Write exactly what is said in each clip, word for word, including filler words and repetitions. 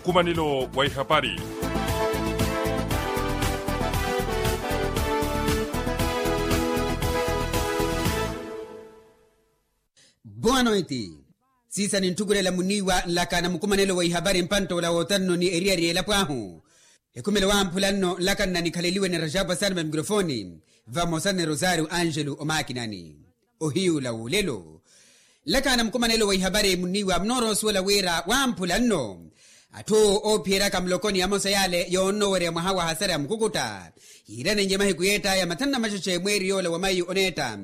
Nkumanelo wa ihapari. Boa noite. Siisa nintthukhulela muniiwa nlaka na mukumanelo wa ihapari mpanttoola wootanno ni eriyari y'elapo ahu. Ekhumelo wamphula nno nlaka nna nikhaleliwe ni rajapu asani va mikrofooni, vamosa ni rosario angelo omakinani. Ohiyuula w'olelo. Nlaka na mukumanelo wa ihapari muniiwa munoorowa osuwela wira wamphula nno atthu oophiyeryaka mulokoni amosa yale yoonnowerya mwaha wa hasara ya mukukutta yiiranenye mahiku yeettaya mathanu na maxexe mweeri yoola wa mayu oneetta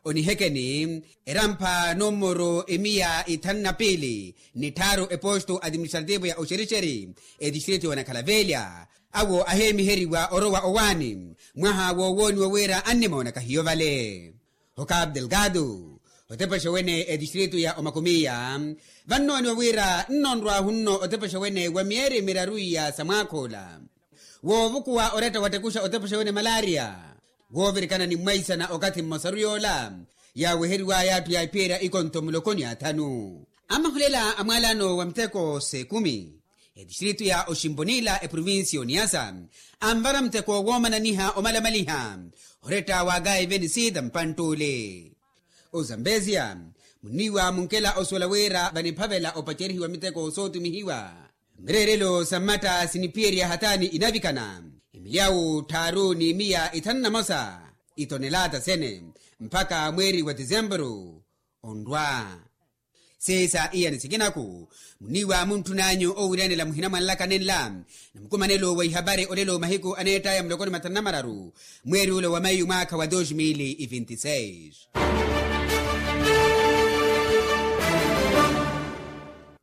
onihekeni erampha numuru emiya ithanu na piili ni tthaaru eposto administrativo ya oxerixeri etistritu ya onakhalavelya. Awo aheemiheriwa orowa owaani mwaha woowooniwa wira annimoona kahiyo vale. Okapu delgado otepexa wene etistritu ya omakumiya vannooniwa wira nnonrwahu nno otepexa wene wa myeeri miraru iya sa mwaakha ola woovukuwa oretta wattekuxa otepexa wene malaria. Woovirikana ni mmwaisana okathi mmosaru yoola yaaweheriwaya atthu yaahiphiyerya ikontho mulokoni athanu. Amahulela a mwaalano wa miteko s'ekumi etistritu ya oximponila eprovincia oniyasa anvara muteko woomananiha omalamaliha oretta wa gaiveni sita mpantt'ule. Ozambesia muniiwa munkela osuwela wira vaniphavela opacerihiwa miteko sootumihiwa mireerelo sa mmatta siniphiyerya hataani inavikana emilyawu tthaaru ni miya ithanu na mosa itonelata sene mpakha mweeri wa tisempuru onrwa. Siisa iyani sikinaku muniiwa muntthun'anyu owiiranela muhina mwa nlaka nenla na mukumanelo wa ihapari olelo mahiku aneettaya mulokoni mathanu na mararu mweeri ula wa mayu mwaakha wa dos mil e vinte e seis.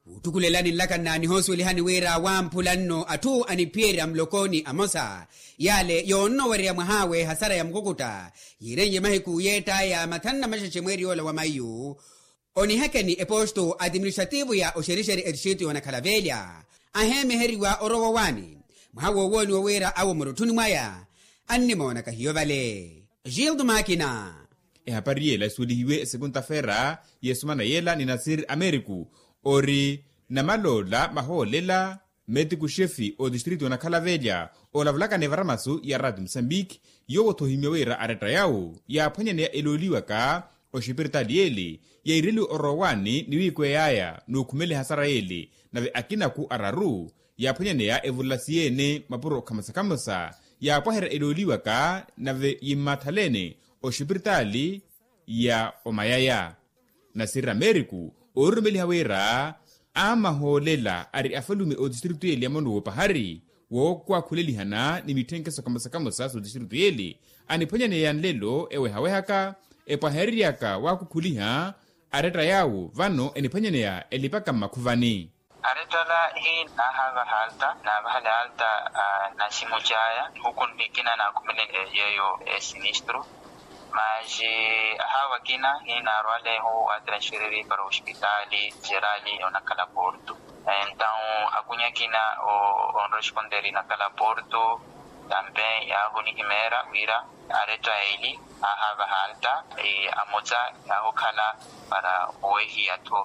Wuuttukulelani nlaka nna nihosuwelihani wira wamphula nno atthu aniphiyerya mulokoni amosa yale yoonnowererya mwah'awe hasara ya mukukutta yiirenrye mahiku yeettaya mathanu na maxexe mweeri yoola wa mayu. Onihekeni eposto administrativo ya oxerixeri etistritu ya onakhalavelya aheemiheriwa orowa owaani mwaha woowooniwa wira awo murutthuni mwaya annimoona kahiyo vale. Gildo makina. Ehapari yela esuwelihiwe esekunta-feera y'esumana yela ni nasir ameriku ori namaloola mahoolela metiku xefi otistritu onakhala velya olavulaka ni varamasu ya ratu musambiki. Yowo-tho ohimya wira aretta yawo yaaphwanyaneya elooliwaka oxipiritaali yeele yaireliwe orowaani ni wiikwey'aya n'ukhumela ehasara yeele nave akinaku araru yaaphwanyaneya evulasi yeene mapuro khamosa-khamosa yaapwaherya elooliwaka nave yimmathaleene oxipiritaali ya omayaya. Nasirira meeriku oorurumeliha wira amahoolela ari afalume otistritu yeele ya mono woopahari wookwakhulelihana ni mitthenkeso kamosa-kamosa sotistritu yeele aniphwanyaneya nlelo ewehawehaka epwahereryaka waakukhuliha aretta yaawo vano eniphwanyaneya elipaka mmakhuvani. Arettala hiina ahaavaha alta naavahala alta. Naximu caya nihuku nikina naakhumele yeeyo esinistru. Maxi ahaava akina hiina arwalehu atransfereri para ospitaali jerali onakhala porto. Entawu akunya akina onresponderi nakhala porto tampe yaahunihimeera wira aretta eli ahaavaha alta. Amotsa yaahukhala para owehiya-tho.